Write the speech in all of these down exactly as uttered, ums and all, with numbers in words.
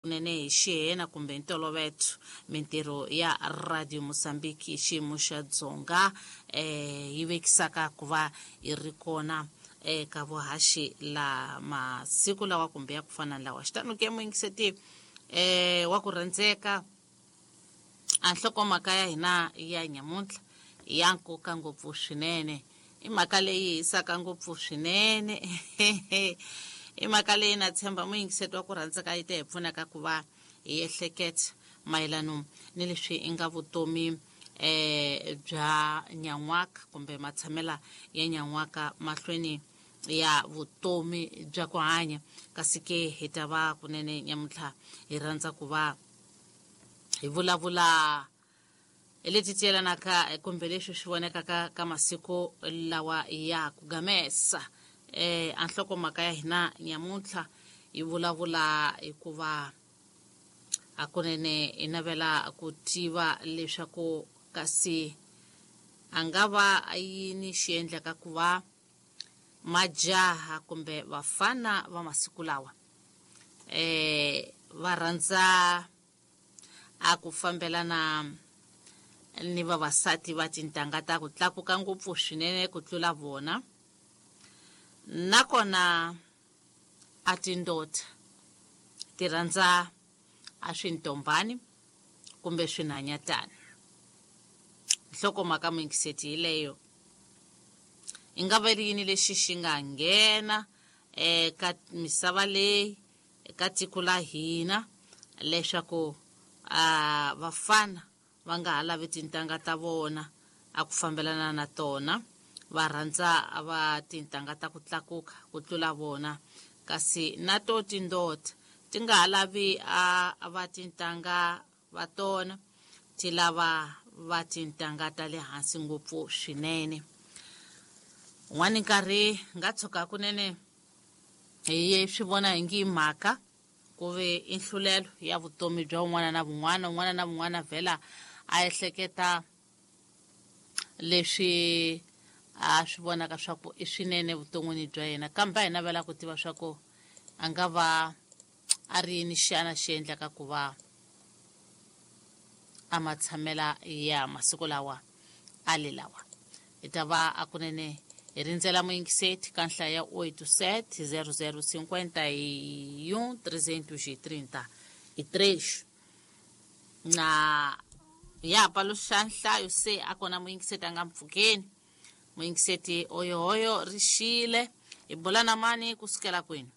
Kunene hi xihena kumbe ntoloveto mintirho ya Radio Mozambique hi xiyimo xa Dzonga eh yi vekisaka ku va yi ri kona eka vuhaxi la masiku lawa kumbe ya ku fana na lawa. Xitano ke muyingiseti eh wa ku rhandzeka, a nhlokomhaka ya hina ya nyamuntlha ya nkoka ngopfu swinene, i mhaka leyi hisaka ngopfu swinene. I mhaka leyi na tshemba muyingiseti wa ku rhandzeka yi ta hi pfunaka ku va hi ehleketa mayelano ni leswi i nga vutomi eh bya nyan'waka kumbe matshamela ya nyan'waka mahlweni ya vutomi bya ku hanya. Kasi ke hi ta va kunene nyamuntlha hi rhandza ku va hi vulavula hi leti ti yelanaka kumbe leswi swi vonekaka ka masiku lawa ya ku gamesa. Eh a nhlokomhaka ya hina nyamuntlha yi vulavula hikuva hakunene hi navela ku tiva leswaku kasi a nga va yini xi endlaka ku va majaha kumbe vafana va masiku lawa eh va rhandza a ku fambelana ni vavasati va tintangha ta ku tlakuka ngopfu swinene ku tlula vona, nakona a tindota ti rhandza a swintombani kumbe swinhanyatana. Nhlokomhaka muyingiseti hi leyo, i nga va ri yini lexi xi nga nghena eka misava leyi eka tiko la hina leswaku a vafana va nga ha lavi tintangha ta vona a ku fambelana na tona, va rhandza va tintangha ta ku tlakuka ku tlula vona, kasi na to tindota ti nga ha lavi a va tintangha va tona, ti lava va tintangha ta le hansi ngopfu swinene. Un'wani nkarhi nga tshuka kunene hi swi vona hi ngi mhaka ku ve i nhlulelo ya vutomi bya un'wana na vun'wana, un'wana na vun'wana vhela a ehleketa leswi a swi vonaka swa ku i swinene vuton'wini bya yena, kambe a hi navela ku tiva swa ku a nga va a ri yini xana xi endlaka ku va a matshamela ya masiku lawa a le lawa. Hi ta va a kunene hi rindzela muyingiseti ka nhlaya ya oito sete zero zero cinquenta e um trezentos e trinta e três na ya paluxa nhlayo se a kona muyingiseti a nga mpfukeni. Muyingiseti oyohoyo rixile hi bula na mani kusukela kwini?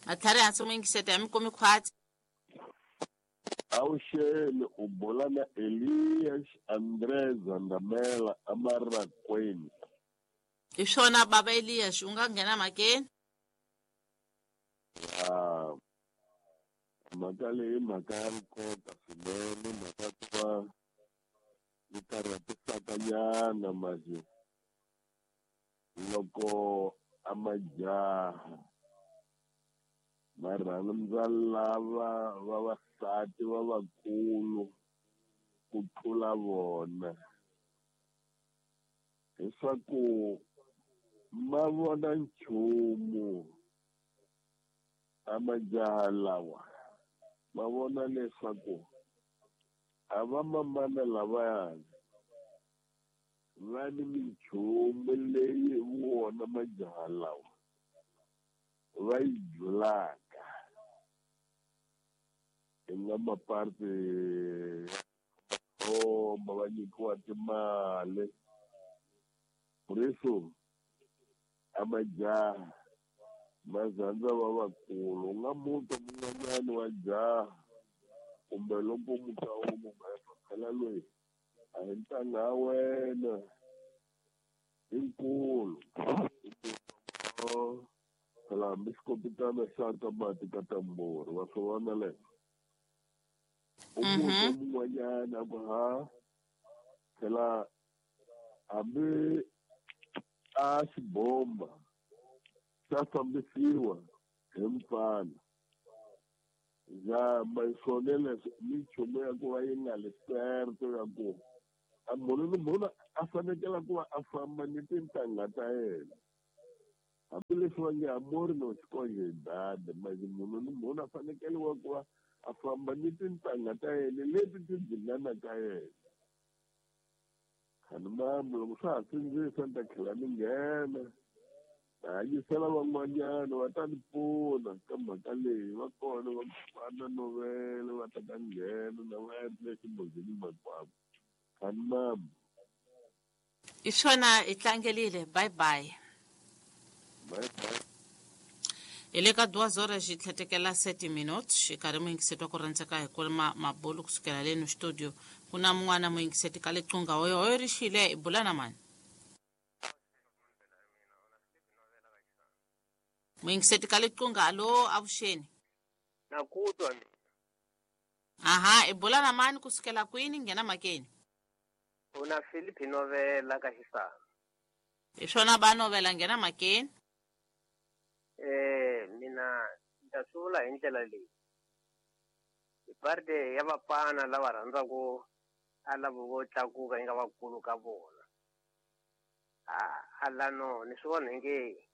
Atlhari hansi muyingiseti a mi kumi khwatsi. Awuxeni, u bula na Elias André Zandamela eMarakweni. Hi swona baba Elias, u nga nghena mhakeni? Ah, mhaka leyi mhaka ya nkoka swinene, mhaka ku va yi karhatisaka nyana manje loko a majaha va rhandza lava vavasati va vakulu ku tlula vona, leswaku ma vona nchumu a majaha lawa ma vona leswaku a va mamana lavayani va ni minchumu leyi vona majaha lawa va yi julaka hi nga maparti ya va nyikiwa timali. Por isso a majaha ma rhandza va vakulu, u nga muta mun'wanyani wa jaha kumbe loko muta u mu phela loyi a hi ntangha ya wena i nkulu, phela hambi xikopitana xa ka mati ka tambori wa swi vona leswo. U muta mun'wanyana a ku ha phela hambi a xibomba xa fambisiwa hi mfana zama swona leswi minchumu ya ku va yi nga le certo ya ku a munhu ni munhu a fanekele ku va a famba ni tintangha ta yena. Hambileswi va nge amori no xikonje hi dada manje munhu ni munhu a fanekele wa ku va a famba ni tintangha ta yena leti ti dzinganaka yena. Khani mambo loko swa ha sindzisa ni ta tlhela ni nghena ta hanyisela van'wanyana va ta ni pfuna ka mhaka leyi va kona va va na novela va ta ta nghena na va endle ximbozini makwavo. Khani mambo i swona hi tlangelile bye bye. Bye bye. Hi le ka duas horas hi tlhetekela sete minutos xikarhi muyingiseti wa ku rhandzeka hi kulima mabulu kusukela leno studio ku na mun'wana muyingiseti ka liqunga hoyo hoyo ri xile hi bula na mani muyingiseti ka liqunga alo avuxeni na ku twa mina. Aha i bula na mani kusukela kwini nghena makeni una Philip novela ka xisana hi swona ba novela nghena makeni. Eh mina ndza swi vula hi ndlela leyi hi parte ya vapana lava rhandzaka a lava vo tlakuka yi nga vakulu ka vona a a lano ni swi vona inge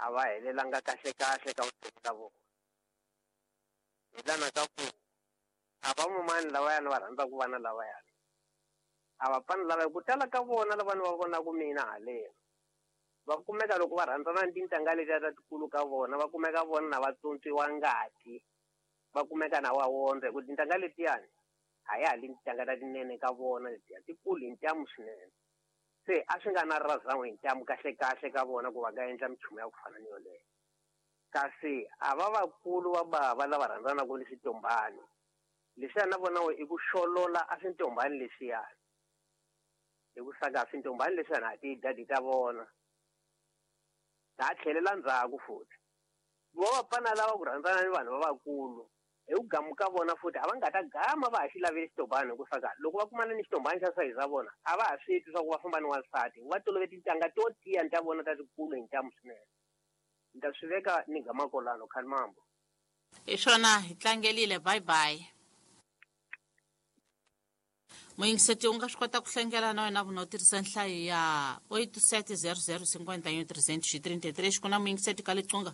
a va helelanga kahle kahle ka vutomi ta vona hi lana ka ku a va mumani lavayani va rhandzaka vana lavayani a vapana lava ku tala ka vona lava ni va vonaka mina haleni va kumeka loko va rhandzana ni tintangha letiya ta tikulu ka vona va kumeka vona na va tsontswiwa ngati va kumeka na wa wondza hi ku tintangha letiyani a ya ha li tintangha ta tinene ka vona letiya tikulu hi ntamu swinene se a swi nga na razan'we hi ntamu kahle kahle ka vona ku va nga endla minchumu ya ku fana ni yoleyo kasi a va vakulu va bava lava rhandzanaka ni switombani leswiya na vona i ku xolola a swintombani leswiyani hi ku saka swintombani leswiyani a ti dadi ta vona ta tlhelela ndzhaku futhi vo vapfana lava ku rhandzana ni vanhu lavakulu hi ku gamuka vona futhi a va nga ta gama va ha xi laveli xitombani hi ku saka loko va kumana ni xitombani xa sayizi ra vona a va ha swi twi swa ku va famba ni wansati va tolovele tintangha to tiya ni ta vona ta tikulu hi ntamu swinene ni ta swi veka ni gama kolano khani mambo. Hi swona hi tlangelile bye bye. Muyingiseti u nga swi kota ku hlengela na wena vuna u tirhisa nhlayo ya oito sete zero zero cinquenta e um trezentos e trinta e três ku na muyingiseti ka liqunga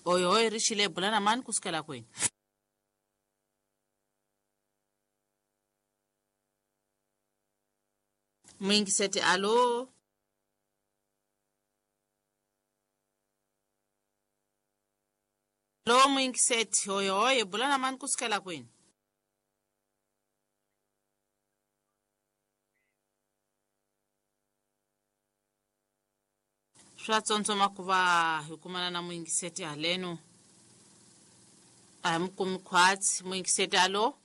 oyo hoyo ri xile bula na mani kusukela kwini. Muyingiseti alo alo muyingiseti oyo hoyo bula na mani kusukela kwini. Swa tsontsoma ku va hi kumana na muyingiseti haleno a hi mi kumi khwatsi muyingiseti alo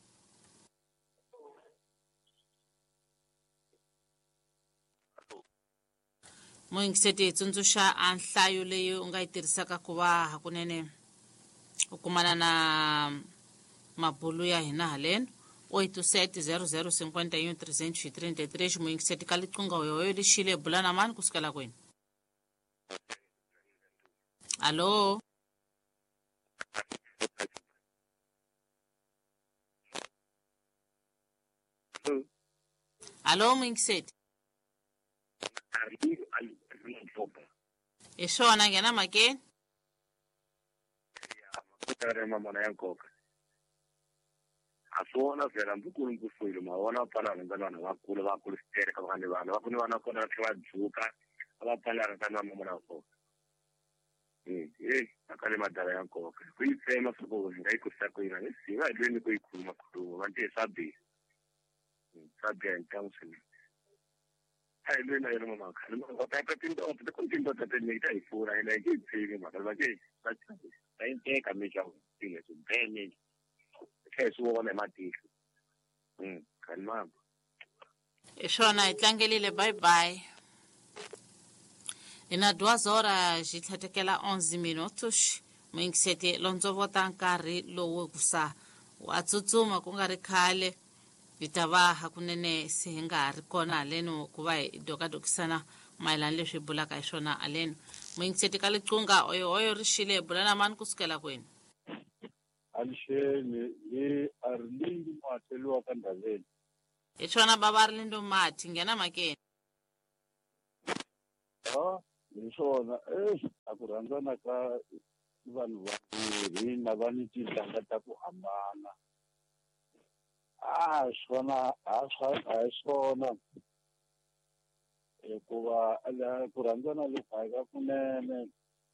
muyingiseti hi tsundzuxa a nhlayo leyi u nga yi tirhisaka ku va hakunene u kumana na mabulu ya hina haleno oito sete zero zero cinquenta e um trezentos e trinta e três muyingiseti ka liqunga hoyohoyo lixile bula na mani kusukela kwini. Alo alo muyingiseti hi swona nghena makeni mamona ya nkoka a swi vona vhela mbukulu nkusulu ma vona pfala rhandza vanhu vakulu vakulu switere ka vana vana va ku ni vana kona va tlhela va dzuka a va pfala rhandza na mamona ya nkoka eh mhaka le madala ya nkoka ku yi tsema swa ku hi nga yi kurisa ku yini ni si va hi lweni ku yi khuluma khuluma va ntiye swa biha swa biha hi ntamu swinene a hi lweni na yona mamaka ni mhaka ta ta tindoda ta ku tindoda tinene ta hi pfuna hina hi nge yi tsemi mhaka va nge va va yi teka mi xa swilo leswi bene tlhela hi swi vona hi matihlo khani mambo. Hi swona hi tlangelile bye bye. Hi na duas horas hi tlhetekela onze minutos muyingiseti londzovota nkarhi lowu kusa wa tsutsuma ku nga ri khale hi ta va hakunene se hi nga ha ri kona haleno ku va hi dokadokisana mayelana leswi hi bulaka hi swona haleno muyingiseti ka liqunga oyo oyo ri xile hi bula na mani kusukela kwini. Alixeni hi Arlindo Mateliwa ka Ndaveni. Hi swona bava Arlindo Mati nghena makeni. Ha Hi swona eh a ku rhandzana ka vanhu vambirhi na va ni tintangha ta ku hambana. A swona a swa a hi swona hikuva ku rhandzana loku a hi ka kunene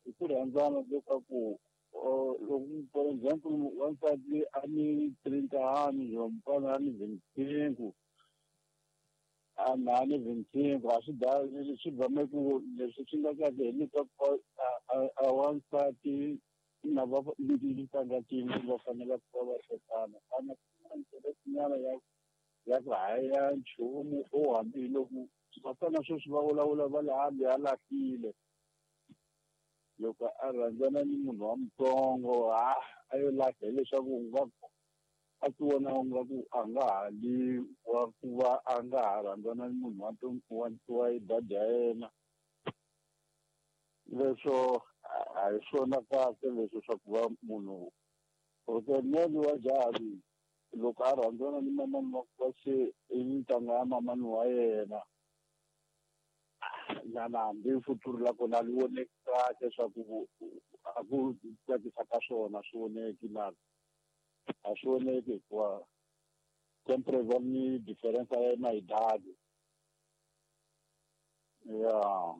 i ku rhandzana leswaku loko for example wansati a ni trintani mufana a ni vinte a na ni vinte a swi da swi bame ku leswi swi nga kahle hileswaku a wansati na va tintangha tin'we va fanele ku va va tekana a na nyana ya ya ku haya nchumu o hambiloko vafana sweswi va vulavula va le hambi a lahlile loko a rhandzana ni munhu wa mutsongo a a yo lahla hileswaku nga a ti vona nga ku a nga ha li wa ku va a nga ha rhandzana ni munhu wa wa wa dadi ya yena leswo a hi swona kahle leswo swa ku va munhu okenene wa jaha loko a rhandzana ni mamani wa wa se i ntanga ya mamani wa yena na hambi futuru la kona li voneki kahle swa ku a ku tsakisa ka swona swi voneki na a swi voneki hikuva sempre va ni difference ya yena hi dadi ya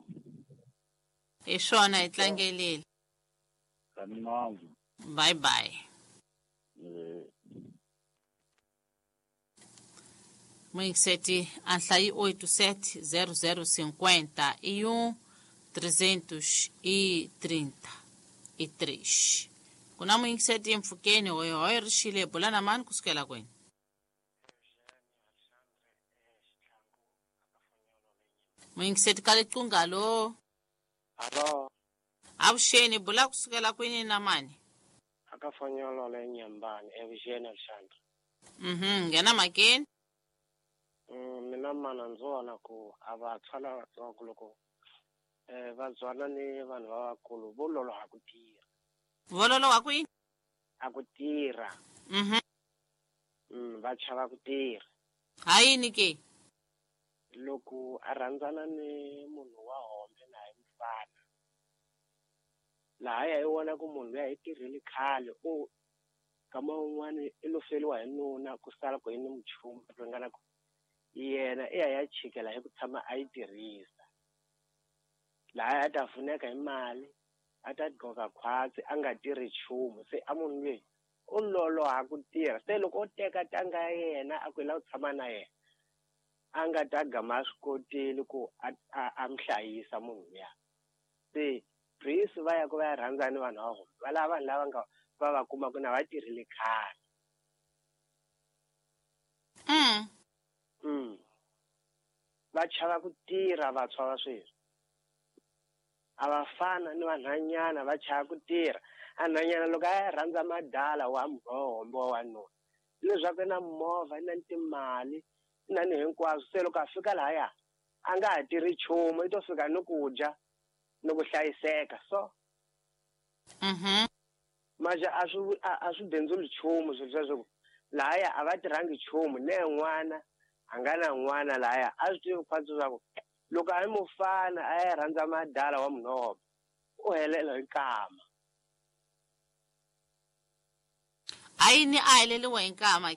hi swona hi tlangelile kanimandzu bye bye. Moinkseti anhlayi oito sete zero zero cinquenta e um trezentos e trinta e três. Kuna moinkseti mfukeni hoyo hoyo rishile bulana mani kusukela kwenu. Moinkseti kale tungalo. Alo. Avuxeni bula kusukela kwini na mani? Akafanyolo le Nyambani Eugene Alexandre. Mhm, ngena makeni. Mina mana ndzi vona ku a vantshwa lavatsongo loko um va byana ni vanhu lavakulu vo loloha ku tirha. Vo loloha ku yini? A ku tirha. Mhm. Mm, va chava ku tirha. Ha yini ke? Loko a rhandzana ni munhu wa hombe na hi mufana lahaya i vona ku munhu luya i tirhile khale o kama un'wana i lo feriwa hi nuna ku sala ku yini muchumu ringana ku yena i ya ya chikela hi ku tshama a yi tirhisa laha a ta pfuneka hi mali a ta gqoka khwatsi a nga tirhi nchumu se a munhu loyi u loloha ku tirha se loko o teka tanga ya yena a ku i lava ku tshama na yena a nga ta gama a swi kotile ku a a mi hlayisa munhu luya se Prince va ya ku va ya rhandza ni vanhu va vona va lava vanhu lava nga va va kumaka na va tirhile khale. Mm. Mm. Va chava ku tirha vantshwa va sweswi a va fana ni vanhwanyana va chava ku tirha a nhwanyana loko a ya rhandza madala wa muhombo wa wanuna leswaku i na movha i na timali i na ni hinkwaswo se loko a fika lahaya a nga ha tirhi nchumu i to fika ni ku dya ni ku hlayiseka so mhm manje a swi a swi bindzuli nchumu swilo sweswo lahaya a va tirhangi nchumu ne n'wana a nga na n'wana lahaya a swi tivi khwatsi swa ku loko a yi mufana a ya rhandza madala wa munhoba u helela hi nkama. A yini a heleliwa hi nkama?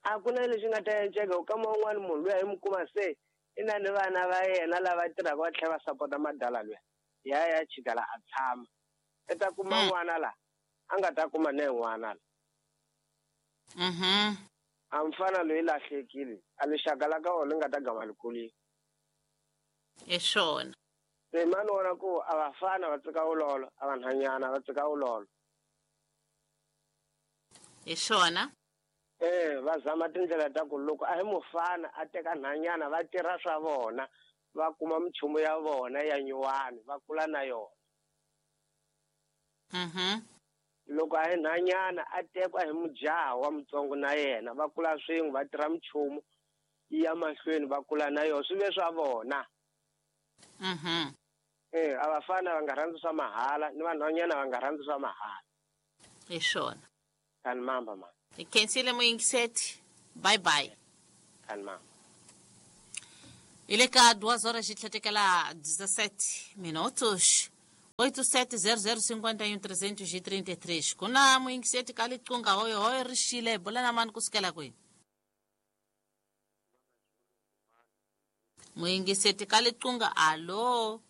A ku na lexi nga ta enceka kama un'wana munhu luya hi mu kuma se i na ni vana va yena lava tirhaka va tlhela va sapota madala luya ya ya chikala a tshama i ta kuma n'wana la a nga ta kuma ne n'wana la. Mhm. A mfana loyi lahlekile a lixaka la ka wona li nga ta gama li kulile. Hi swona. Se mani vona ku a vafana va tsika vulolo a vanhwanyana va tsika vulolo. Hi swona. Eh va zama tindlela ta ku loko a hi mufana a teka nhwanyana va tirha swa vona va kuma minchumu ya vona ya nyuwani va kula na yona. Mhm. Loko a hi nhwanyana a tekwa hi mujaha wa mutsongo na yena va kula swin'we va tirha minchumu ya mahlweni va kula na yona swi ve swa vona. Mhm. Eh a vafana va nga rhandzi swa mahala ni vanhwanyana va nga rhandzi swa mahala. Hi swona. Kan mamba ma. Hi khensile muyingiseti. Bye bye. Kan mamba. Ile ka duas horas de tlhetekela dezessete minutos. oito sete zero zero cinquenta e um trezentos e trinta e três. Kuna muyingiseti ka liqunga hoyo hoyo ri xile bula na mani kusukela kwini? Muyingiseti ka liqunga, alo.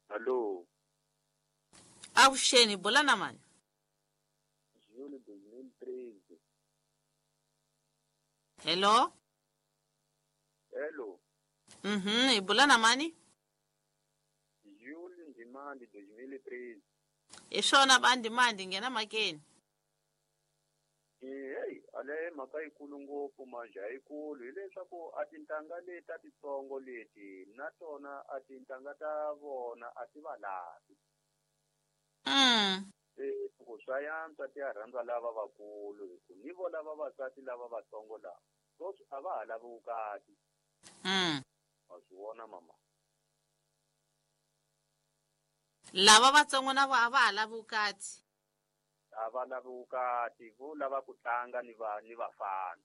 Alo. Avuxeni, bula na mani? Julho dois mil e treze. Hello? Hello. Mhm, i bula na mani? Julho Ndimande dois mil e treze. I swona va Ndimande, nghena mhakeni. Hey, ale mhaka yikulu ngopfu manje ayikulu hileswaku a tintangha leti ta titsongo leti na tona a tintangha ta vona a ti va lavi. Mm. Se ku swa yantswa ti ya rhandza lava vakulu hi ku ni vo lava vavasati lava vatsongo lava sweswi a va ha lavi vukati. Mm. Wa swi vona mama. Lava vatsongo na vo a va ha lavi vukati. A va lavi vukati, vo lava ku tlanga ni va ni vafana.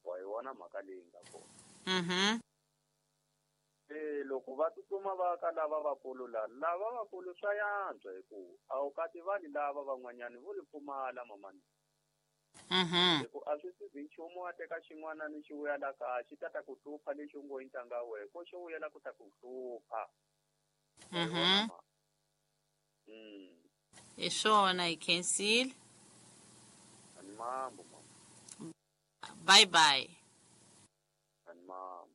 Wa yi vona mhaka leyi nga kona. Mhm. Se loko va tsutsuma va ka lava vakulu la, lava vakulu swa yantswa hi ku a wu kati vanhu lava van'wanyani vo li pfumala mamani. Mhm. Hi ku a swi sizi nchumu wa teka xin'wana ni xi vuya la kaya xi ta ta ku hlupha lexi u ngo i ntanga wa wena, ko xi vuyela ku ta ku hlupha. Mhm. Mm. I swona, hi khensile. Ani mambo mama. Bye bye. Ani mambo.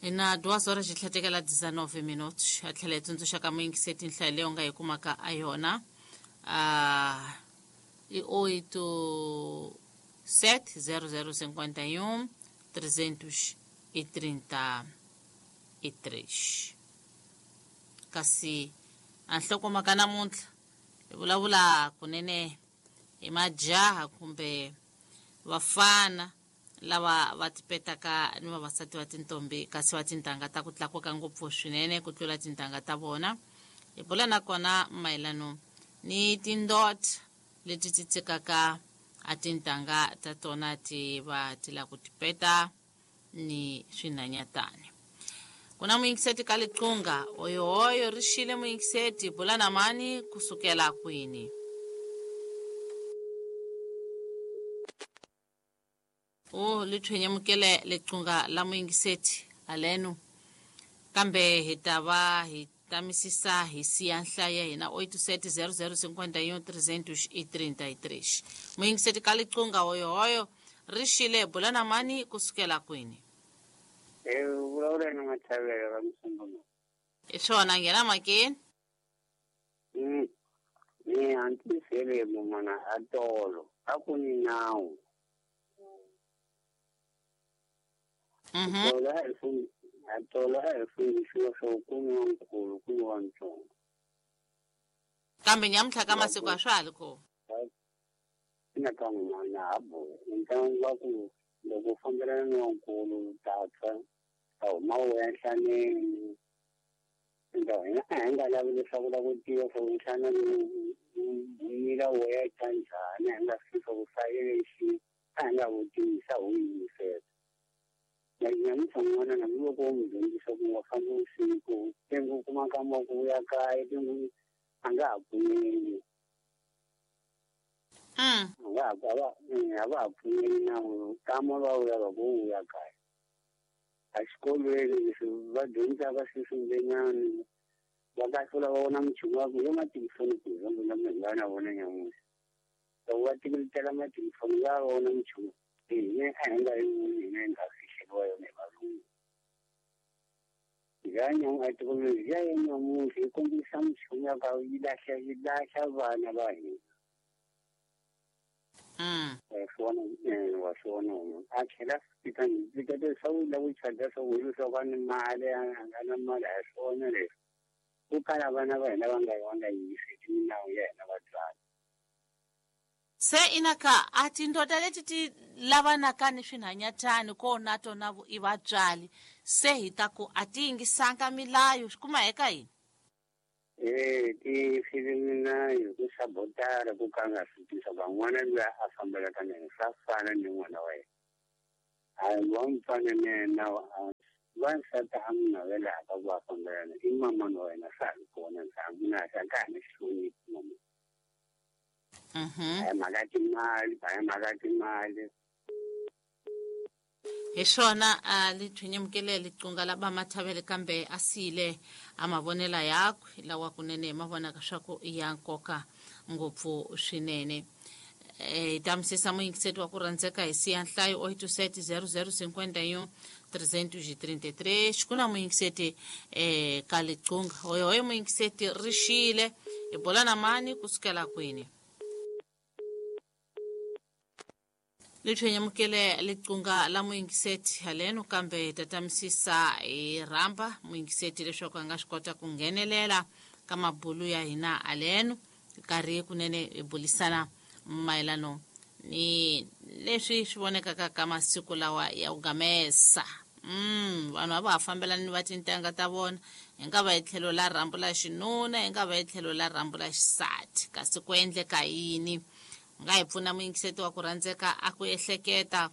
Ina duas horas de tlhetekela dezenove minutos. A tlhela hi tsundzuxa ka muyingiseti nhlayo leyi u nga yi kumaka a yona. Ah, i oito sete zero zero cinquenta e um trezentos e trinta e três. Kasi a nhlokomhaka namuntlha hi vulavula kunene hi majaha kumbe vafana lava va tipetaka ni vavasati va tintombi kasi va tintangha ta ku tlakuka ngopfu swinene ku tlula tintangha ta vona. Hi bula nakona mayelano ni tindot leti ti tshikaka a tintangha ta tona ti va ti la ku tipeta ni swinhanyatani. Kuna muyingiseti ka liqunga, oyohoyo ri xile muyingiseti, bula na mani kusukela kwini? O li thwenyamukele liqunga la muyingiseti aleno kambe hi ta va hi tamisisa hi siya nhlayo ya hina oito sete zero zero cinquenta e um trezentos e trinta e três. Muyingiseti ka liqunga, oyohoyo ri xile, bula na mani kusukela kwini? Eh, vulavula na Mathavela va Musombono. I swona, nghena mhakeni. Mm. Ni hantisele mumana a tolo a ku ni nawu. Mhm. Tolo a hi funi a tolo a hi fundisiwa swo ku ni wa nkulu ku ni wa ntsongo. Kambe nyamuntlha ka masiku a swa ha ri kona. Ina ka n'wana ha boha. Ntlangu wa ku loko u fambelana ni wa nkulu u ta tshwa a huma u ya nhlaneni. Enta hina a hi nga lavi leswaku la ku tiva swa ku nhlana mila wo ya tshwa njhani, a hi nga swi swa ku swa a hi nga vutisa ho yingisela. Na nyamuntlha n'wana na loko u n'wi dyondzisa ku wa famba vusiku tengu u kuma nkama wa ku vuya kaya tengu a nga ha pfumeli. Mm. A nga ha a va a va ha pfumeli na kama va vuya va ku vuya kaya. A xikolweni leswi va dyondzaka sweswi va kahlula va vona minchumu wa ku yo matilifoni ku example na munhu nga na vona nyamuntlha. Loko va teketela matilifoni va vona minchumu hina a hi nga yi voni hina hi nga fihleriwa yona hi valungu. Ya nyamu a thekinoloji ya nyamuntlha yi kombisa minchumu ya ka yi lahla yi lahla vana va hina. Mm. Wa swi vona wa swi vona a tlhela fika fika leswaku la ku charger swa ku leswaku a ni mali a nga na mali a hi swona leswi. Ku kala vana va hina va nga va nga yingiseli milawu ya hina vatswari. Se inaka a tindoda leti ti lavanaka ni swinhanyatani ko na tona i vatswari se hi ta ku a ti yingisanga milayo swi kuma eka yini? Eh ti filimi na hi ku sabotara ku ka nga swi tisa van'wana luya a fambelaka na yena swa fana ni n'wana wa yena. A wa mfana na yena wansati a n'wi navelaka ku va fambelana i mamani wa yena swa ha ri kona a n'wi a ka ha ni hloniphi mama. Mhm. A hi mhaka timali, a hi mhaka timali. Hi swona a lithwinyemukele liqunga la vamathavele kambe a siyile a mavonela yakwe lawa kunene ma vonaka swa ku i ya nkoka ngopfu swinene. Hi ta misisa muyingiseti wa ku rhandzeka hi siya nhlayo oito sete zero zero cinquenta e um trezentos e trinta e três ku na muyingiseti eh, ka liqunga hoyohoyo muyingiseti ri xile hi bola na mani kusukela kwini. Lithwenyamukele liqunga la muyingiseti haleno kambe hi ta tamisisa hi rhamba muyingiseti leswaku a nga swi kota ku nghenelela ka mabulu ya hina haleno karhi kunene hi bulisana mayelano ni leswi swi vonekaka ka masiku lawa ya ku gamesa. Mm, vanhu a va ha fambelani va tintangha ta vona hi nga va hi tlhelo la rhambu la xinuna hi nga va hi tlhelo la rhambu la xisati kasi ku endleka yini. Nga hi pfuna muyingiseti wa ku rhandzeka a ku ehleketa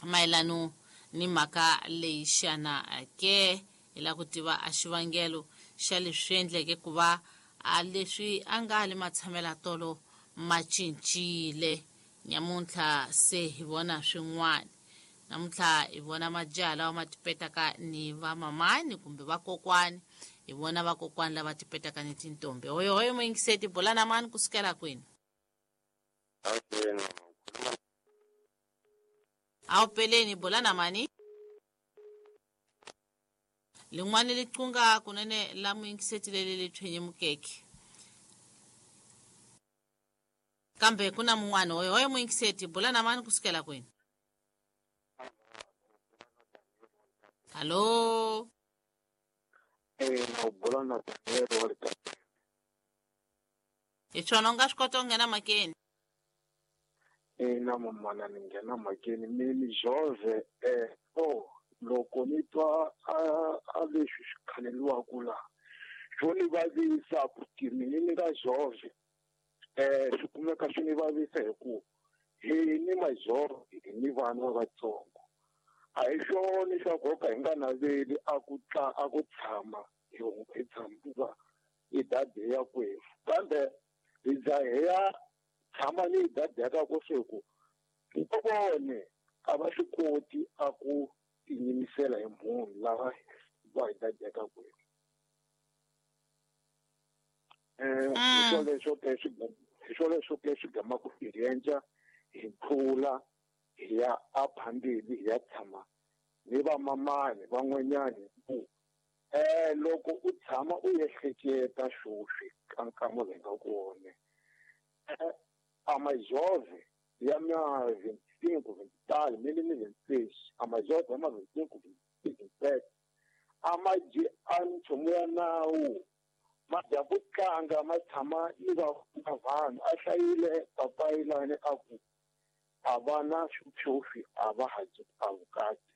mayelano ni mhaka leyi xana ke hi lava ku tiva a xivangelo xa leswi endleke ku va a leswi a nga le matshamela tolo ma cincile nyamuntlha se hi vona swin'wana. Namuntlha hi vona majaha lawa ma tipetaka ni vamamani kumbe vakokwani hi vona vakokwani lava tipetaka ni tintombi. Hoyohoyo muyingiseti bola na mani kusukela kwini? Awu peleni bola na mani lin'wani liqunga kunene la muyingiseti leli lithwenyemukeke kambe ku na mun'wana. Hoyohoyo muyingiseti bola na mani kusukela kwini? Hallo. Eh na bola na Daniel. Hi swona u nga swi kota ku nghena makeni? Ina mamana ni nghena mhakeni mi ni Jove eh oh loko ni twa a a leswi swi khaleliwaku laha swo ni vavisa ku ti mina ni nga Jove eh swi kumeka swi ni vavisa hi ku hi ni majove hi ni vana va vatsongo a hi swona swa ku ka hi nga naveli a ku tla a ku tshama hi hi tshama hi dadi ya kwefu kambe hi za hi ya tshama ni dadeka ku swi ku vone a va swi koti a ku tinyimisela hi munhu lava va hi dadeka kwefu. Eh hi swo leswo ke swi hi swo leswo ke swi gamaku hi endla hi tlula hi ya aphambili hi ya tshama ni vamamani van'wanyani ku eh loko u tshama u ehleketa swoswi ka nkama lowu hi nga kona amajove ya ma vinte e cinco, vinte e tal, mille e vinte e seis, amajove ya ma vinte e cinco, vinte e sete, amaji a nchumu ya nawu ma dya ku tlanga ma tshama ni va vanhu a hlayile papayi lani a ku a va na swiphyophi a va ha dyi a vukati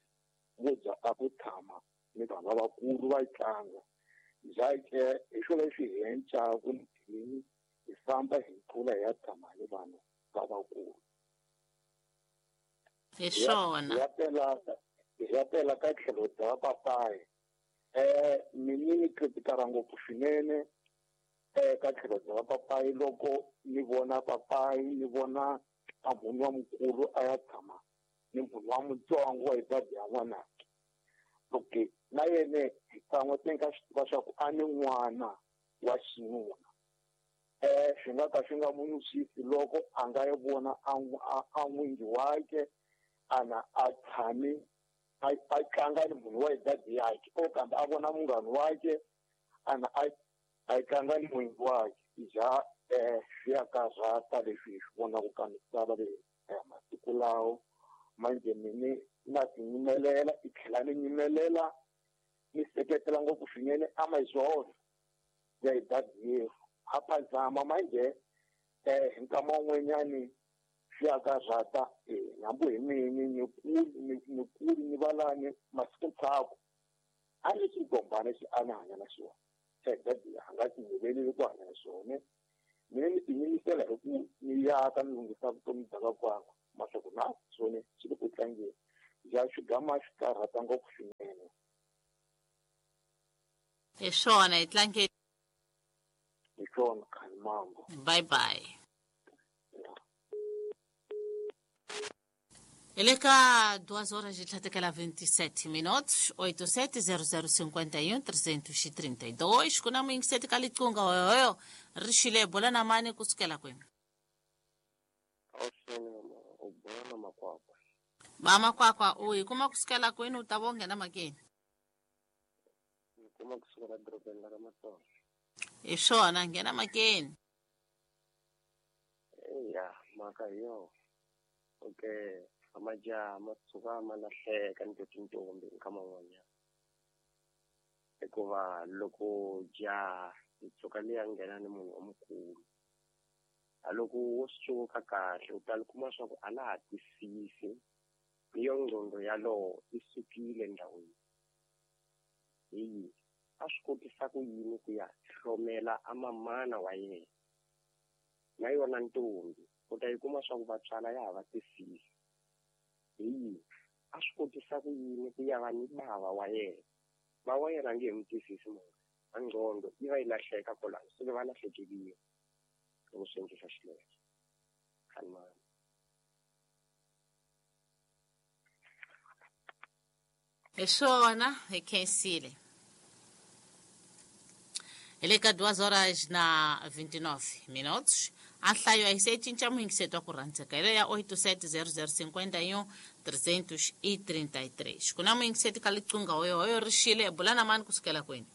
vo dya a ku tshama ni vanhu lavakulu va tlanga njhake hi swona leswi hi encaku ni hi famba hi tlula hi ya tshama ni vanhu lavakulu. Hi swona hi ya pela hi ya pela ka tlhelo bya papayi eh mina ni kritikara ngopfu swinene eh ka tlhelo bya papayi loko ni vona papayi ni vona a munhu wa mukulu a ya tshama ni munhu wa mutsongo wa hi dadi ya n'wanake. Okay na yena hi kan'we se nga swi tiva swa ku a ni n'wana wa xinuna eh swi nga ka swi nga munusisi loko a nga yi vona a a n'wingi wakhe ana a tshami a a tlanga ni munhu wa hi dadi yakhe o kambe a vona munghana wakhe ana a a tlanga ni n'wingi wakhe ja eh swi ya karhata leswi hi swi vonaka ka misava leyi ya masiku lawo manje mini na tinyimelela i tlhela ni nyimelela ni seketela ngopfu swinene amazolo ya hi dadi yerhu a phazama manje eh hi nkama wun'wanyani swi ya karhata eh hambi hi mini ni kuli ni ni kuli ni valani masiku ntshaku a ni xigombana xi a ni hanya na xona. That a nga tiyimeleli ku hanya hi swona. Mina ni tiyimisela hi ku ni yaka ni lunghisa vutomi bya vakwakwa maswaku na swona swi le ku tlangeni ja xigama xi karhata ngopfu swinene. Hi swona hi tlangeni. Hi swona khani mambo. Bye bye. Ele ka duas horas e trinta e vinte e sete minutos, oito sete zero zero cinquenta e um trezentos e trinta e dois. Kuna mwingiseti kalitunga oyo rishile bola na mani kusukela kwenu. Mama kwakwa uyi kuma kusukela kwenu utabonge na makeni. Kuma kusukela dorobeni la Matsonga. Ishona ngena makeni. Eya maka yo. Okay. Amajaha ma tshuka ma lahleka ni tintombi nkama wun'wanyana hikuva loko jaha yi tshuka liya nghena ni munhu omukulu a loko wo suka kahle u ta kuma swa ku a la ha twisisi ni yo ngqondo yalowo yi sukile ndhawini hi a swi kotisa ku yini ku ya hlomela a mamana wa yena na yona ntombi u ta yi kuma swa ku vatswala ya ha va twisisi hi a swi kotisa ku yini ku ya va ni bava wa yena ba wa yena nge n'wi twisisi munhu a ngqondo yi va yi lahleka kwalano se va lahlekeliwe loko swi endlisa xileswo khanimani. Hi swona hi khensile. Hi le ka duas horas na vinte e nove minutos. A nhlayo a yi se cinca muyingiseto wa ku rhandzeka hi leya oito sete zero zero cinquenta e um trezentos e trinta e três. Ku na muyingiseti ka liqunga hoyo hoyo rixile bula na mani kusukela kwini.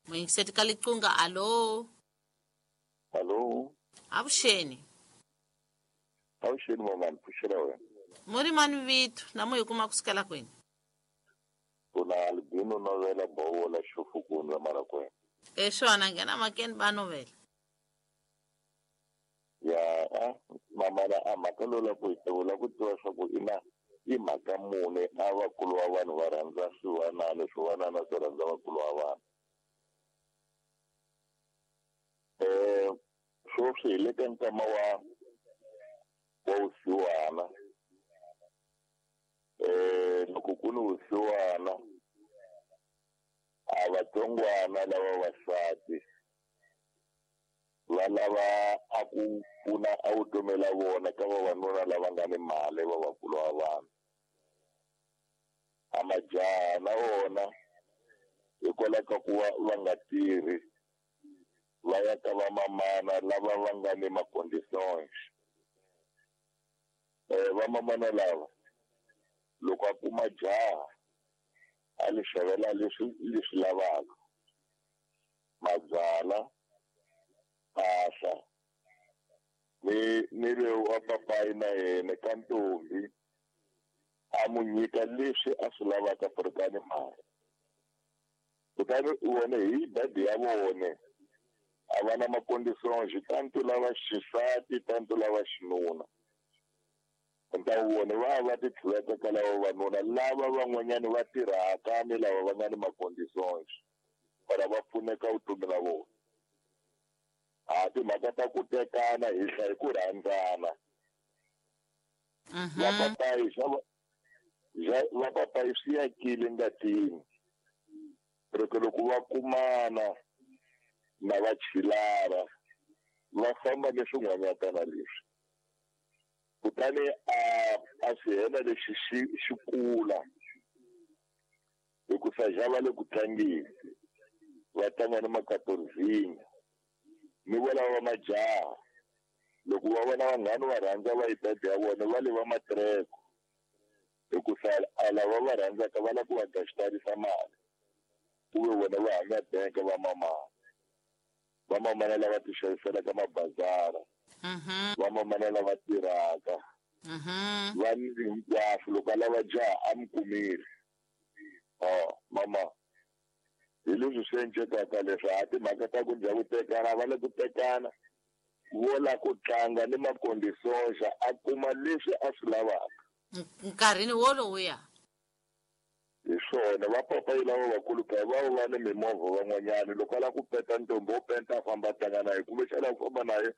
Muyingiseti ka liqunga alo. Alo. Avuxeni. Avuxeni mama ni pfuxela wena. Muri mani vito na muyi kuma kusukela kwini. Kuna albino novela bowola xofukundza marakwena. E swona nghena makeni ba novela. Ya a mama la a mhaka lowu la ku hi tivula ku tiva swa ku ina i mhaka mune a vakulu va vanhu va rhandza swivanana swivanana swi rhandza vakulu va vanhu. Eh sweswi hi le ka nkama wa wa vusiwana. Eh loko ku ni vusiwana a vatsongwana lava vasati va lava a ku pfuna a vutomi la vona ka vavanuna lava nga ni mali va vakulu va vanhu. A majaha na wona hikwalaho ka ku va va nga tirhi va ya ka vamamana lava va nga ni ma-conditions. Eh vamamana lava loko a kuma jaha a li xavela leswi leswi lavaka mabyala mpahla ni ni loyi wa papayi na yena ka ntombi a mu nyika leswi a swi lavaka ni mali kutani wona hi dadi ya vona a va na ma-conditions tanto lava xisati tanto lava xinuna. Nta vona va va ti tlhuveka ka lava vavanuna lava van'wanyani va tirhaka ni lava va nga ni ma-conditions para va pfuneka vutomi la vona. A timhaka ta ku tekana hi hlaya ku rhandzana. Va papayi swa va papayi swi yakile ngatini loko loko va kumana na va chilara va famba ni swin'wanyatana leswi kutani a a swi hela lexi xi xi kula hikusa ja va le ku tlangeni va tlanga ni makatorzinya ni vona va majaha loko va vona vanghani va rhandza va yidadi ya vona va le va matreko hikusa a lava va rhandzaka va lava ku va gaxitarisa mali ku ve vona va hanya bank va mamana va mamana lava ti xaviselaka mabazara va mamana lava tirhaka va ni hinkwaswo loko a lava jaha a mi kumile. Oh mama hi leswi swi encekaka leswi a timhaka ta ku dya ku tekana va le ku tekana vo la ku tlanga ni ma-conditions a kuma leswi a swi lavaka nkarhini wolowuya. Hi swona va papayi lava vakulu ka va va ni mimovha van'wanyana loko a lava ku peta ntombi o penta a famba a tlanga na ye kumbexana ku famba na ye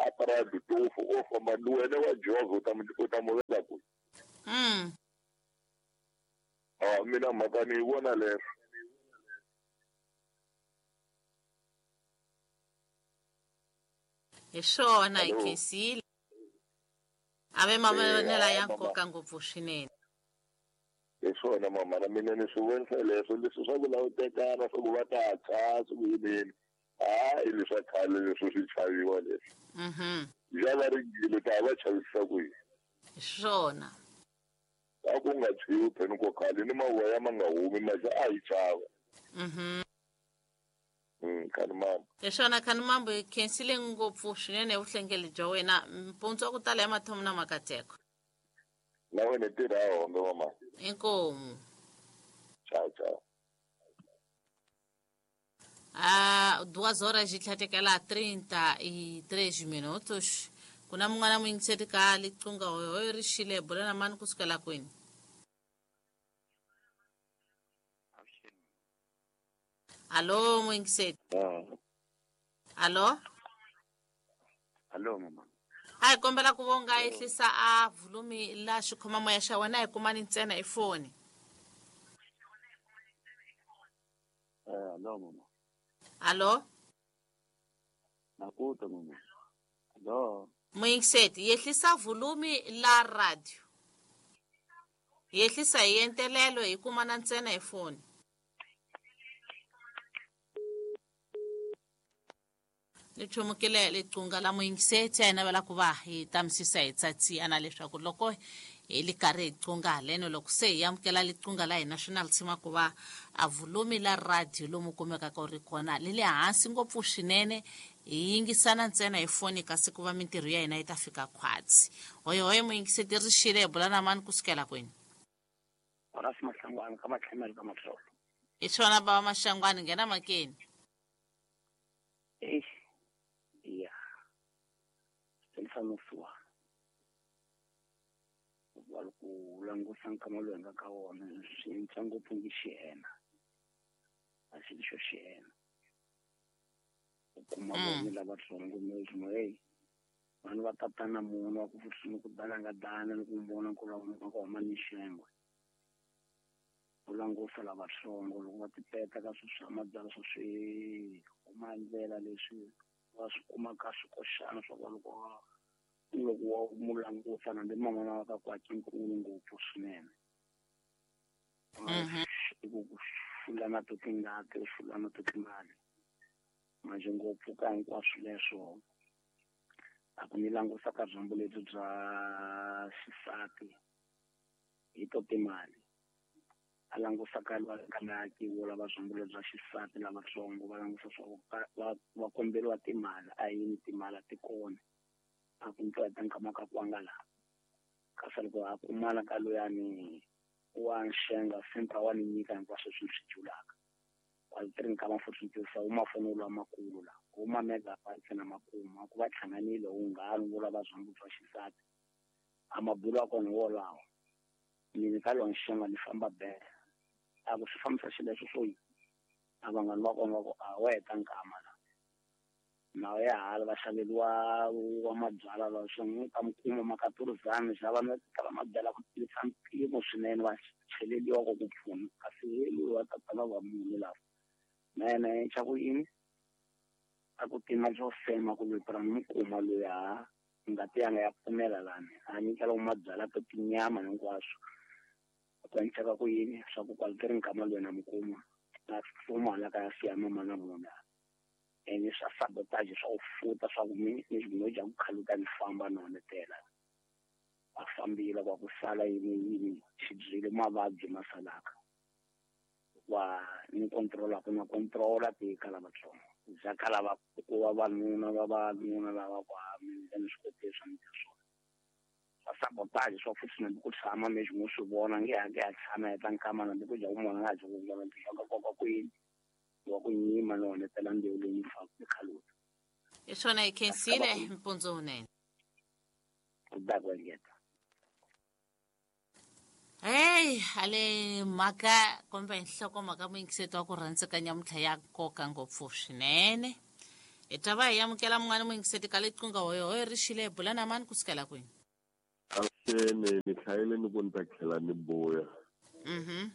a paradu tofu o famba ni wena wa jovha u ta mu u ta mu veka kwihi. Mm. A mina mhaka ni yi vona leswo. Hi swona hi Hello. khensile a ve mavonelo Eh, ya mama. nkoka ngopfu swinene. Hi swona mama na mina ni swi vonisa leswo leswi swa ku lava ku tekana swa ku va ta tshwa swa ku yinini hayi leswa khale leswi swi chaviwa leswi. Mhm. Ja va ringile ta va chavisisa ku yini. Hi swona. A ku nga tshwiwi pheni ko khale ni mavoya ma nga humi maxa a hi chava. Mhm. Mm, khani mama. Hi swona khani mambo hi khensile ngopfu swinene vuhlengeli bya wena mpundzu wa ku tala ya mathomo na makateko. Na wena tirha hombe mama. Inkomu. Ciao ciao. Ah, duas horas e tlhatekela trinta e três minutos. Ku na mun'wana muyingiseri ka liqunga hoyo ri xile bula na mani kusukela kwini? Alô muyingiseri. Alô? Alô mama. A hi kombela ku vonga ehlisa a volume la xikhomamoya xa wena hi kumani ntsena hi foni. Eh, alô mama. Alô? Nakuta mama. Alô. Muyingiseti yehlisa volume la radio. Yehlisa hi entelelo hi kumana ntsena hi foni. Ni chumukile liqunga la muyingiseti a hi navela ku va hi tamisisa hi tsatsiyana leswaku loko hi li karhi hi qunga haleno loko se hi amukela liqunga la hina swi na lisima ku va a volume la radio lomu kumekaka u ri kona li le hansi ngopfu swinene hi yingisana ntsena hi foni kasi ku va mintirho ya hina yi ta fika khwatsi. Hoyohoyo muyingiseti ri xile hi bula na mani kusukela kwini? Horace Mahlangwana ka Matlhemelo ka Matlolo. Hi swona bava Maxangwani nghena makeni. Eish. Ya. Swi wa loko u langusa nkama lowu hi nga ka wona swi cinca ngopfu ngi xiyena a xi xo xiyena u kuma vona lavatsongo mi hey vanhu va tatana munhu wa ku futhi ni ku dana nga dana ni ku vona ku lava ku huma ni xengwe u langusa lavatsongo loko va tipeta ka swilo swa mabyalwa swa swi huma ndlela leswi va swi kumaka swikoxana swa ku loko loko wa mu langusa na ndi mama wa ka kwaki nkulu ngopfu swinene i ku fulana to tingati u fulana to timali manje ngopfu ka hinkwaswo leswo a ku ni langusa ka byambu lebyi bya xisati hi to timali a langusa ka lwakaki wo lava byambu lebyi bya xisati lavatsongo va langusa swa va va komberiwa timali a yini timali a ti kona a ku ntwa nkama ka kwanga la kasi loko a kumala ka loyani wa nxenga sempa wa ni nyika hinkwaswo swi swi julaka kwalitiri nkama futhi ntirhisa wu mafoni lwa makulu la wu ma megabytes na makuma ku va hlanganile wu nghanu wo lava byambu bya xisati a mabulo ya kona wolawo mina ka lo nxenga ni famba bele a ku swi fambisa xileswo swo yi a vanghani va kona va ku a wa heta nkama la na ya hala va xaveriwa wa mabyalwa la swi n'wi ta mi kuma makaturuzani xa vanhu va tala mabyalwa ku tirhisa mpimo swinene va cheleliwa ku ku pfuna kasi loyi wa tatana va munhu lava na yena xa ku yini a ku tima byo fema ku loyi ni mi kuma loyi ha ngati yanga ya pfumela lani a nyikela mabyalwa to tinyama hinkwaswo ku endleka ku yini swa ku kwaliteri nkama loyi na mi kuma na tsutsuma hala ka ya siya mama na munhu ene swa sabotage swa ku futa swa ku mi ni no dya ku khaluka ni famba no honetela a fambile kwa ku sala yini yini xibyile mavabyi ma salaka wa ni controla ku na controla ti ka lavatsongo bya ka lava ku vavanuna vavanuna lava ku a ni swi koti swa mintirho swona swa sabotage swa futhi na ku tshama mi xi swi vona nge ha nge ha tshama heta nkama na ku dya ku mona nga dyi ku vona ntirho ka ku yini wa ku nyima no honetela mbewu leyi ni faka ni khaluta. Hi swona hi khensile mpundzu wunene. Ku da ku engeta. Hey, ale mhaka kumbe nhlokomhaka muyingiseti wa ku rhandzeka nyamuntlha ya nkoka ngopfu swinene. Hi ta va hi amukela mun'wana muyingiseti ka liqingho hoyohoyo ri xile hi bula na mani kusukela kwini? Avuxeni, ni hlayile ni ku ni ta tlhela ni buya. Mhm.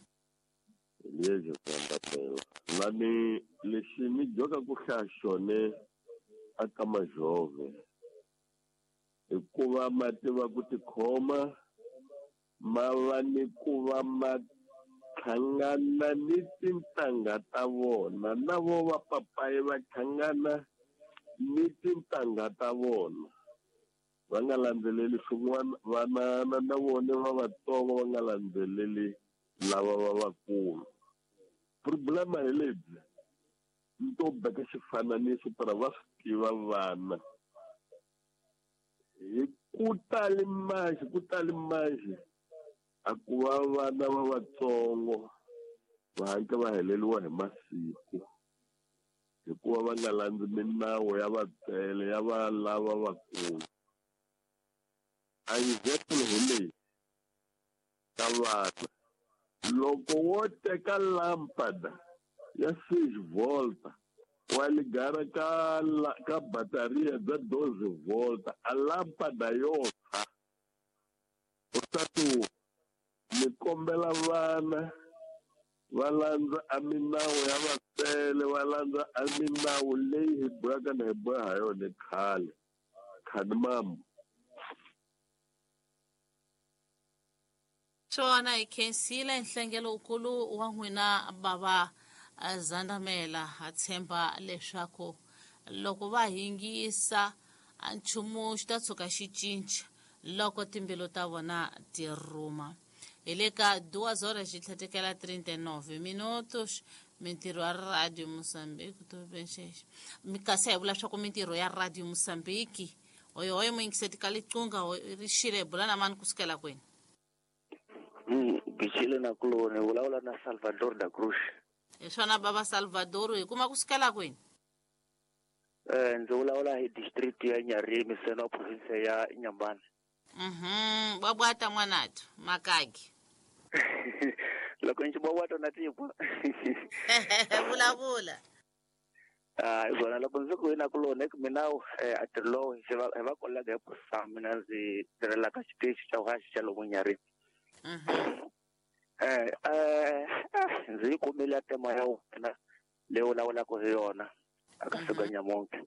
Lexi sandapela. Lani lexi ni joka ku hlaya xone aka majove. Hikuva ma tiva ku tikhoma ma va ni ku va ma hlangana ni tintangha ta vona na vo va papayi va hlangana ni tintangha ta vona va nga landzeleli swin'wana vanana na vona va vatsongo va nga landzeleli lava va vakulu. Problema hi lebyi ni to beka xifananiso para va swi tiva vana hi ku tali manjhe ku tali manjhe a ku va vana va vatsongo va hatla va heleriwa hi masiku hikuva va nga landzi minawu ya vatswele ya va lava vakulu. A example hi leyi ka vana loko wo teka lampada ya six volta wa ligara ka ka bataria bya doze volta a lampada yo tshwa u ta tu ni kombela vana va landza a minawu ya vatswele va landza a minawu leyi hi bohaka na hi boha ha yona khale khani mambo. Swona hi khensile nhlengelo wukulu wa n'wina bava Zandamela. Ha tshemba leswaku loko va hingisa nchumu xi ta tshuka xi cinca loko timbilu ta vona ti rhuma. Hi le ka duas horas xi tlhetekela trinta e nove minutos. Mintirho ya Radio Mozambique to kasi hi vula swa ku mintirho ya Radio Mozambique hoyohoyo muyingiseti ka liqingho ri xile hi bula na mani kusukela kwini? Mm, Bichile na kuloni vulavula na Salvador da Cruz. Hi swona baba Salvador, hi kuma kusukela kwini? Eh, ndzi vulavula hi district ya Nyarimi seno province ya Inhambane. Mhm, babwata mwanathu makagi. Loko ndzi bwata na tipo. Vulavula. Ah, izona loko ndzi ku ina kuloni ku mina eh atirlo hi va hi va kolega hi pusa mina ndzi tirhela ka xitichi xa haxi xa lomu Nyarimi. Mhm. Eh eh ndzi yi kumile tema ya wena leyi vulavulaka hi yona aka siku nyamuntlha.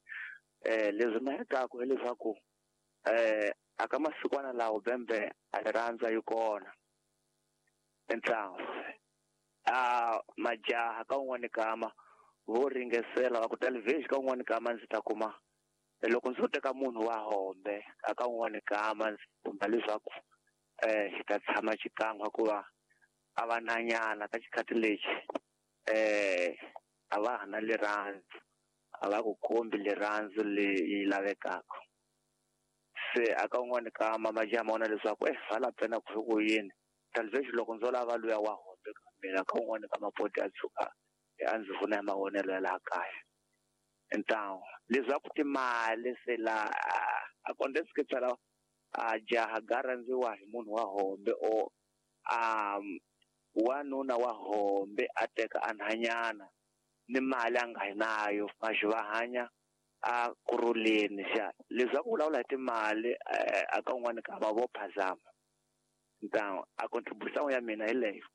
Eh leswi mahekaku hileswaku eh aka masikwana lawo bembe a ri rhandza yi kona entlangu a majaha ka un'wana kama vo ringesela va ku television ka un'wana kama ndzi ta kuma loko ndzi teka munhu wa hombe aka un'wana kama ndzi kumba leswaku eh xi ta tshama xikan'we hikuva a va nanyana ka xikhathi lexi eh a va ha na rirhandzu a va ku kombi rirhandzu leyi lavekaka. Se aka un'wana kama majaha ma vona leswaku eh vala pena ku ku yini television loko ndzo lava luya wa hombe ka mina ka un'wana ka mapoti ya tshuka a ndzi vona ya mavonelo ya laha kaya. Então leswaku timali se la a acontece que phela a jaha ga rhandziwa hi munhu wa hombe o a wanuna wa hombe a teka a nhanyana ni mali a nga yi nayo maxi va hanya a kurhuleni xa leswaku vulavula hi timali a ka un'wana ka va vo phazama. Então a contribution ya mina hi leyo.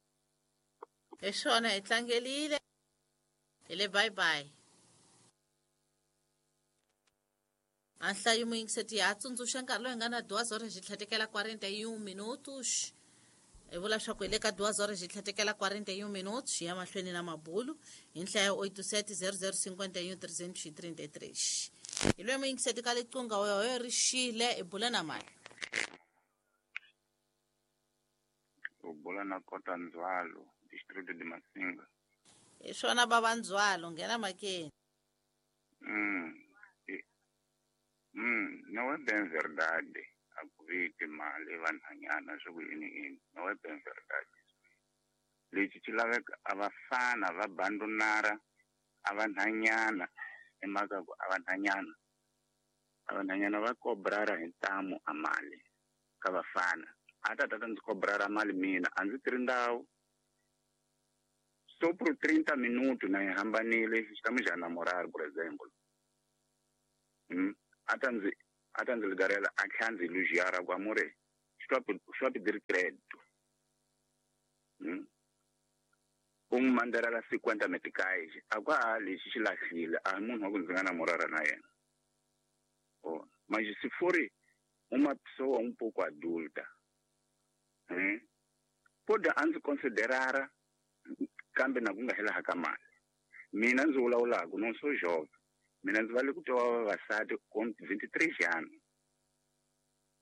Hi swona hi tlangelile hi le bye bye. A nhlayo muyingiseti ya tsundzuxa nkarhi lowu hi nga na duas horas xi tlhetekela quarenta e um minutos. Hi vula swa ku hi le ka duas horas xi tlhetekela quarenta e um minutos hi ya mahlweni na mabulu hi nhlayo oito sete zero zero cinquenta e um trezentos e trinta e três. Hi loyi muyingiseti ka liqingho hoyohoyo ri xile hi bula na mani? U bula na Kota Ndzwalo, distrito de Masinga. Hi swona bava Ndzwalo, nghena makeni. Mm. Mm, não é bem verdade. A ku vi timali vanhanyana swi ku yini yini. Não é bem verdade. Lexi xi laveka a vafana va bandonara a vanhanyana hi mhaka ku a vanhanyana a vanhanyana va kobrara hi ntamu a mali ka vafana A ta ta ndzi cobrara mali mina a ndzi tirhi ndhawu so por trinta minuto na yi hambanile estamos já namorar por exemplo mm? A ta ndzi a ta ndzi ligarela a tlhela ndzi elogiar ku amore estou a pedir crédito mm? U n'wi mandarela cinquenta meticais a ku a lexi xi lahlile a hi munhu wa ku ndzi nga namorara na yena oh. Mas se for uma pessoa um pouco adulta eh? Pode a ndzi considerara kambe na ku nga hela ka mali mina ndzi vulavulaka não sou jovem mina ndzi vale ku twa vavasati com vinte e três anos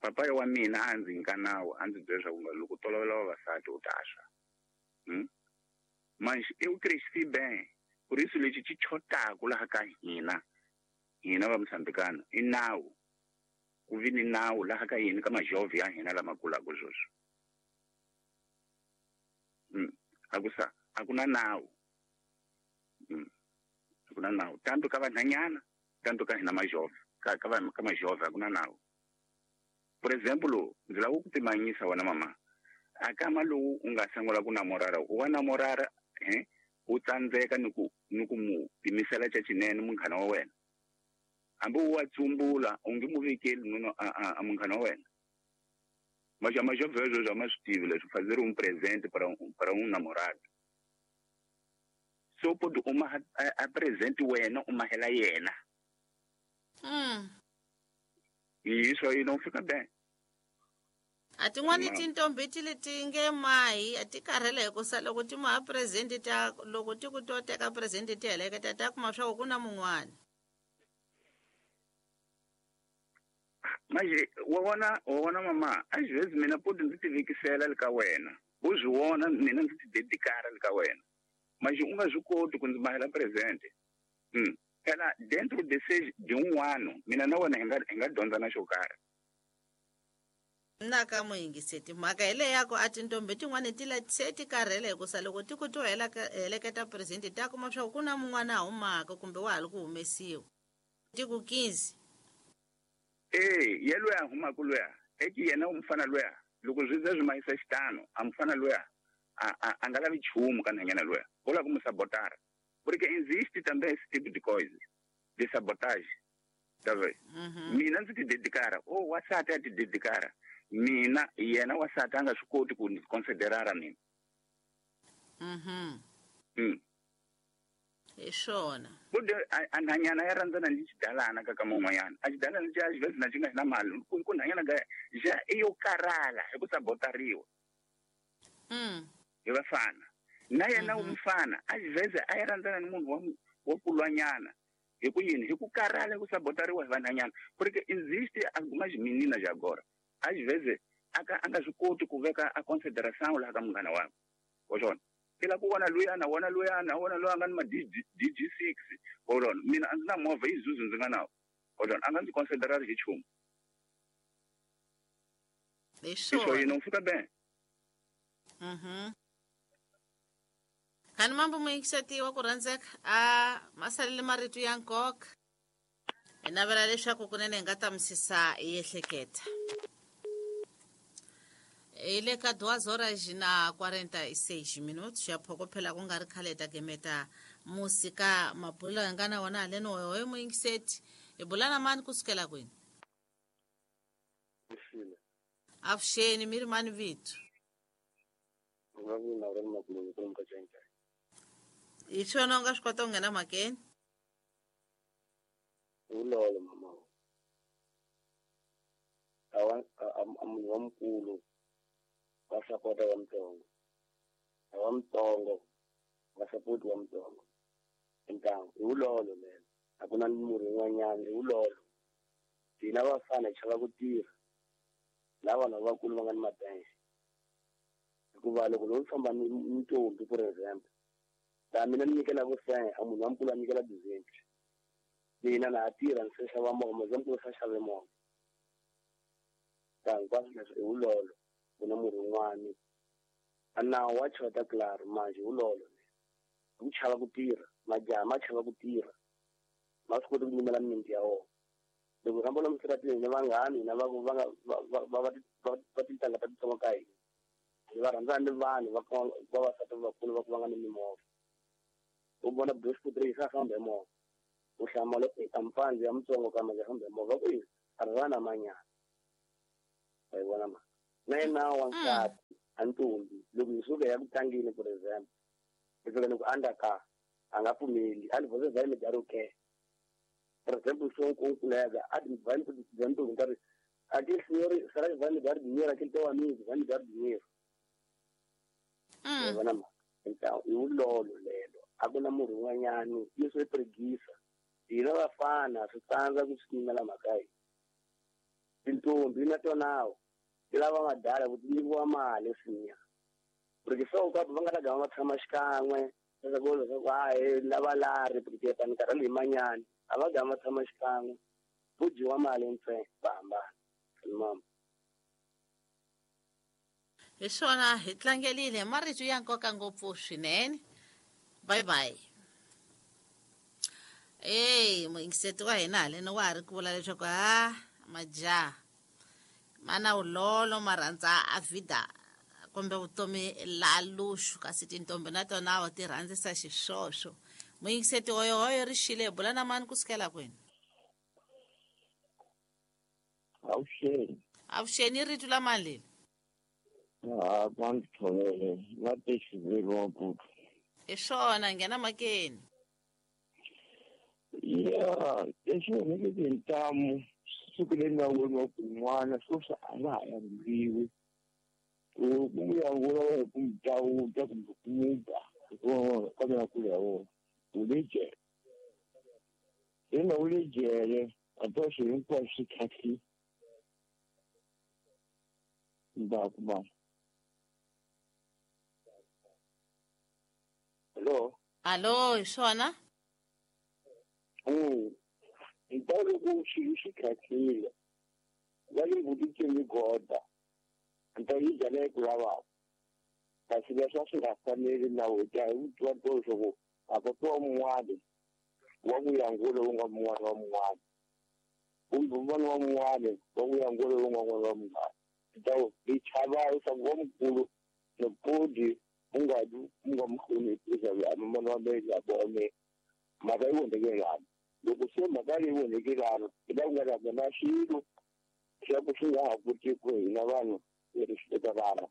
papai wa mina a ndzi nyika nawu a ndzi byela leswaku loko tolovela vavasati u ta swa hmm? Mas eu cresci bem por isso lexi xi chotaku laha ka hina hina va Moçambicano i nawu ku vi ni nawu laha ka hina ka majovhi ya hina lama kulaka sweswi mm. Akusa akuna nawu mm. Akuna nawu tanto ka vanhanyana tanto ka hina majovhi ka ka ka majovhi akuna nawu por exemplo ndzi lava ku pimanyisa wena mama akama lowu u nga sungula ku namorara u wa namorara eh u tsandzeka ni ku ni ku mu pimisela xa xinene munghana wa wena hambi u wa tsumbula u nge mu vekeli nono a munghana wa wena mas majovhi sweswo a ma swi tivi leswi fazer um presente para um, para um namorado so pode uma a, a presente wena u mahela yena mm. Isso aí não fica bem. A tin'wani tintombi ti leti nge mahi a ti karhele hi ku sa loko ti maha presente ta loko ti ku to teka presente ti heleketa ta kuma swa ku ku na mun'wana mas wa vona wa vona mama às vezes mina pode ndzi ti vekisela le ka wena u swi vona mina ndzi ti dedikara le ka wena mas u nga swi koti ku ndzi mahela presente mm. Phela dentro de seis de um ano mina na wena hi nga hi nga dyondza na xo karhi na ka muyingiseti mhaka hi leyi ya ku a tintombi tin'wani ti la se ti karhele hi ku sa loko ti ku to heleketa presente ta kuma swa ku ku na mun'wana a humaka kumbe wa ha ri ku humesiwa ti ku quinze e ye loyi a humaka luya eki yena mufana luya loko swi ze swi mahisa xitano a mufana luya a a a nga lavi nchumu ka nhanyana luya u lava ku mu sabotara porque existe também esse tipo de coisa de sabotagem tá vendo mina ndzi ti dedikara o wasati a ti dedikara mina yena wasati a nga swi koti ku ndzi considerara mina mhm mm. Hi swona bude a nhanyana ya rhandzana ni xidalana ka ka mun'wanyana a xidalana xa às vezes na xi nga na mali ku ku nhanyana ka xa i yo karhala hi ku sabotariwa mm. Hi vafana na yena mufana às vezes a ya rhandzana ni munhu wa wa kulwanyana hi ku yini hi ku karhala hi ku sabotariwa hi vanhanyana porque existe algumas meninas agora às vezes aka a nga swi koti ku veka a consideração laha ka munghana wakwe wa swona i la ku vona luyana wona luyana wona loyi a nga ni ma D G six wa swona mina a ndzi na movha Isuzu ndzi nga nawo wa swona a nga ndzi considerari hi nchumu Isso aí não fica bem. Mhm. Khani mambo muyingiseti wa ku rhandzeka a ma salele marito ya nkoka hi navela leswaku kunene hi nga ta misisa hi ehleketa hi le ka duas horas na quarenta e seis minutos ya phokophela ku nga ri khale ta gemeta musika mabulo hi nga na wona haleni hoyo muyingiseti hi bula na mani kusukela kwini avuxeni mi ri mani vito hi swona u nga swi kota ku nghena mhakeni Ulolo mama awa a munhu wa mukulu wa sapota wa mutsongo a wa mutsongo wa sapoti wa mutsongo ntangu i wulolo lelo a ku na murhi wun'wanyana i wulolo hina vafana hi chava ku tirha lava vanhu lavakulu va nga ni mabenxe hikuva loko no famba ni ntombi for example laha mina ni nyikela vusenhe a munhu wa mukulu a nyikela dizenti mina na ha tirha ni se xava movha munhu wa mukulu se xave movha ta hinkwaswo leswi i wulolo ku na murhi wun'wani a nawu wa chota claro manje i wulolo hi ku chava ku tirha majaha ma chava ku tirha ma swi koti ku nyimela mimiti ya wona Loko hi famba lomu switarateni na vanghani hina va va nga va va va va tintangha ta titsongo ka hina. Hi va rhandzana ni vanhu va vavasati vakulu va ku va nga ni mimovha. U vona Bushbuckridge yi famba hi movha. U hlamala eka mpandzi ya mutsongo kambe yi famba hi movha ku yi a ri na manyana. Wa yi vona mhaka. Na yena wansati a ntombi loko hi suka ya ku tlangeni for example hi fika ni ku andza a nga pfumeli a ni você vai me dar o quê? Por exemplo, sou com um colega, a vai me perguntar, aquele senhor, será que vai me dar dinheiro? Aquele teu amigo vai me dar dinheiro? Hum. Então, e o lolo lelo, a ku na munhu un'wanyani isso é preguiça. Hina vafana swi tsandza ku swi nyimela mhaka yi. Tintombi na tona ti lava madala ku ti nyikiwa mali sinya. Porque só o va nga ta gama va tshama xikan'we leswaku leswaku hayi lava lari porque ta ni karhele hi manyani. A va gama va tshama xikan'we ku dyiwa mali ntsena va hambana. Mama. Hi swona hi tlangelile marito ya nkoka ngopfu swinene. Bye bye. Ey, muyingiseti wa hina haleni wa ha ri ku vula leswaku ha majaha mana wulolo ma rhandza a vida kumbe vutomi la luxu kasi tintombi na tona wa ti rhandzisa xiswoswo. Muyingiseti hoyohoyo ri xile bula na mani kusukela kwini? Avuxeni. Avuxeni i rito la mani leli? Ha va ndzi tshovele va te xiviri wa mputu. Hi swona nghena makeni. Ya lexi onheke tintamu siku leri nga voniwa ku n'wana sweswi a nga ha yanguriwi ku n'wi yangula hi ku n'wi dawuda kumbe ku n'wi ba hikuva kambe na kulu ya wona u le jele. Leri nga u le jele a to swilo hinkwaswo swi tlhatlhile ndzhaku mama. Hello. Allo, hi swona? Mm. Nta loko swilo swi tlhatlhile va le mbuti goda nta yi byala ku lavaka kasi leswi a swi nga faneli na weta hi vutiwa to leswaku a ko tiwa mun'wani wa ku yangula wu nga mun'wani wa mun'wani kumbe un'wana wa mun'wani wa ku yangula wu nga n'wana wa mun'wani. Nta hi chava leswaku wa mukulu nopodi u nga u nga mu hloniphisa mana wa mina ya vone mhaka yi vonhekelana. Loko se mhaka leyi vonhekelana hi la ku nga ta na xilo xa ku swi nga ha koti ku hina vanhu hi ri swi teka vana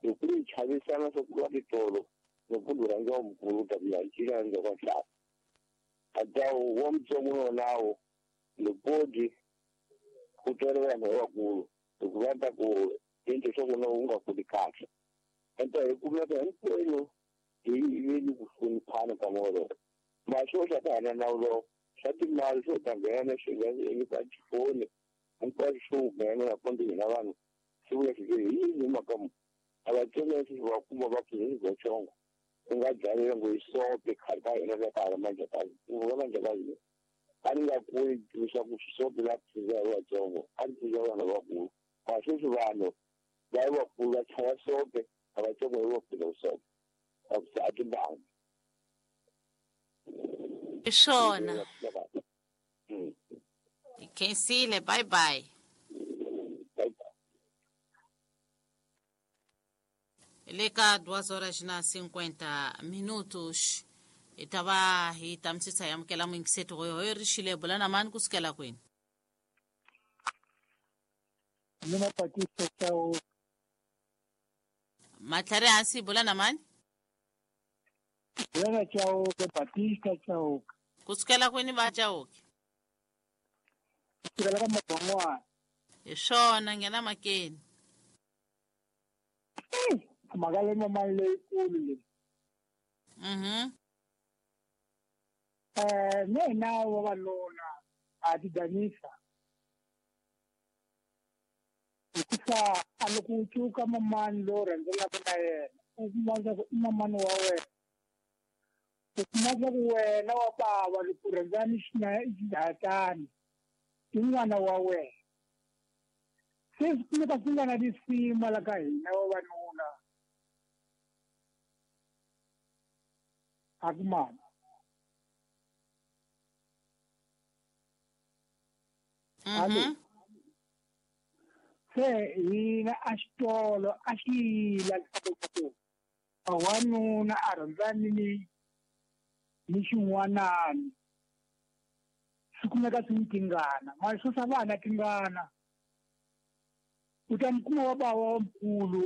loko hi chavisana swa ku va titolo loko ku rhandza wa mukulu ta ku ya cina ndzhaku ka nhlana a ta wa mutsongo wonawo lopodi ku twela vanhu lavakulu loko va ta ku endle swa ku na u nga kuli kahle. Enta hi kumeka hinkwenu hi yiveni ku hloniphana ka moya maswo swa ku hana nawu lowo swa timali swo ta nghena swi nga eka tifoni hinkwaswo swo nghena na kumbe hina vanhu swi vula swi hi yini mhaka mu a va tsonga swi va kuma va pfuza u nga dlalela ngo hi sope khale ka hina ka ka manjhakazi va manjhakazi a ni nga kuli leswaku swisope la pfuza hi vatsongo a ni pfuza vanhu lavakulu ma sweswi vanhu va vakulu va chaya sope a vatsongo hi va pfuza sope a ku a timbangi. Hi swona. Hi khensile, bye bye. Le ka duas horas na cinquenta minutos hi ta va hi tamisisa hi amukela muyingiseti hoyohoyo ri xile bula na mani kusukela kwini? Mina Batista Chauke. Matlhari hansi bula na mani? Bula na Chauke, Batista Chauke. Kusukela kwini va Chauke? Kusukela ka Mabon'wana. Hi swona nghena makeni. Mhaka leyi mali leyikulu leyi. Mhm. Eh, na hina vavanuna ha ti danisa. Hikuva a loko u cuka mamani lowu rhandzelaka na yena u kuma leswaku i mamani wa wena. U kuma leswaku wena wa bava loko u rhandzana xihatani i n'wana wa wena. Se swi kumeka swi nga na risima la ka hina vavanuna. A ku mama. Alo. Se hina a xitolo a xi yila leswaku wanuna a rhandzani ni ni xin'wanani swi kumeka swi ni tingana mali swo sa vana tingana u ta mi kuma wa bava wa mukulu